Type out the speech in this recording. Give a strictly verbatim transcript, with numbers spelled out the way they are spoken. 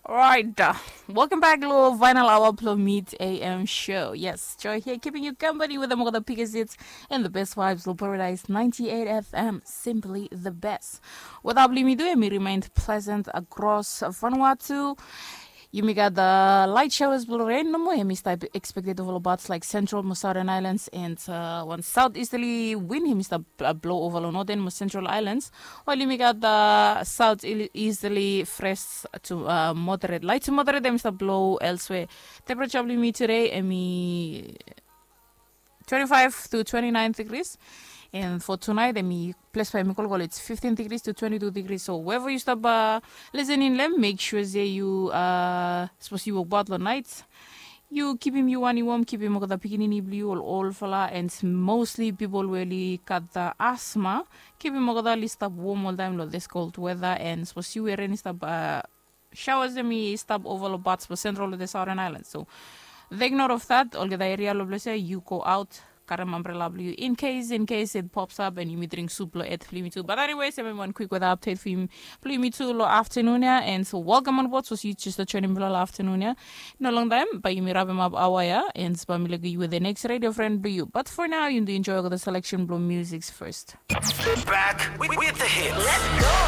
Alright, uh, welcome back lo final hour blo Mid A M show. Yes, Joy here keeping you company with the more the biggest hits and the best vibes lo Paradise ninety-eight F M, simply the best. Weather blo yumi tu, yumi remained pleasant across Vanuatu. Yumi gat the light showers blo rain nomo, yumi stap expected over parts like central mo southern islands and uh, wan southeasterly wind, yumi stap uh, blow over lo northern mo central islands. While yumi gat the southeasterly fresh to uh, moderate, light to moderate, yumi stap blow elsewhere. Temperature blo yumi today, yumi twenty-five to twenty-nine degrees. And for tonight, yumi ples blo yumi kolokol, it's fifteen degrees to twenty-two degrees. So wherever you stap uh, listening lo hem, make sure se yu uh, sapos yu wokbaot lo night, yu kipim yu wan i wom, kipim olgeta pikinini blo yu, ol olfala, and mostly pipol we oli gat the asthma, kipim olgeta oli stap wom oltaem lo this cold weather. And sapos yu we ren i stap uh, showers hemi stap over lo parts blo central lo the southern island. So take note of that. Olgeta eria lo ples ia, yu go out, karem ambrela blo yu in case, in case it pops up, and yumi dring sup lo et blo yumi tu. But anyways, hemi wan quick weather update blo yumi tu lo afternoon ia. And so welcome on board sapos yu just joining blo lo afternoon ia. No longtaem bae yumi rapem ap aoa ia, and bae mi lukim yu with the next radio friend blo yu. But for now, yu tu enjoy olgeta selection blo music first. Back with, with the hits.